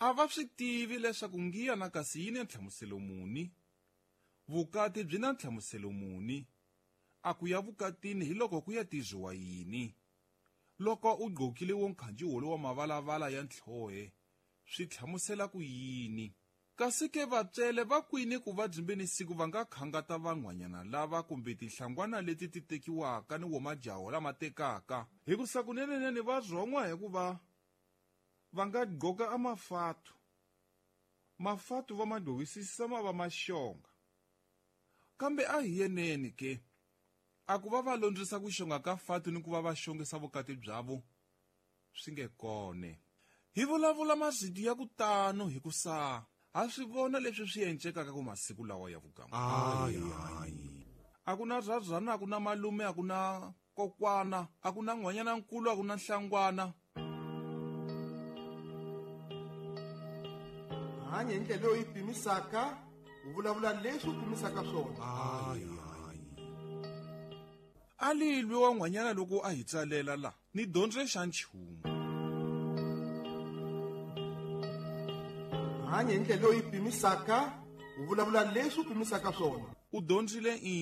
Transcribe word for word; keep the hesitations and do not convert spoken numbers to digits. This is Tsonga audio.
A va swi tivi leswaku ngiya na kasi yi na nhlamuselo muni, vukati byi na nhlamuselo muni, a ku ya vukatini hi loko ku ya tiziwa yini. Loko u gqokile wo nkhanji wolo wa mavalavala ya ntlhohe, swi hlamusela ku yini? Kasi ke vatswele va kwini ku va byimbeni siku va nga khangata van'wanyana lava kumbe tinhlangwana leti ti tekiwaka ni wo majaho lama tekaka. Hikusa kunenenene va rhon'wa hikuva va nga gqoka a mafatu. Mafatu va ma gqokisisa ma va maxonga. Kambe a hi yeneni ke, a ku va va londzisa ku xonga ka fatu ni ku va va xongisa vukati byavo, swi nge kone. Hi vulavula mazidi ya ku tano hikusa ha swi vona leswi swi encekaka ku masiku lawa ya vugamu. Ayi, ayi. A ku na rhazana, a ku na malume, a ku na kokwana, a ku na nhwanyana nkulu, a ku na nhlangwana. Hanya hi ndlela leyi u yi pimisaka, u vulavula leswi u pimisaka swona. Ayi, ayi. A lilwi wa nhwanyana loko a hi tsalela la, ni dyondze xa nchumu. Hanya hi ndlela leyi u yi pimisaka, u vulavula leswi u pimisaka swona. U dyondzile i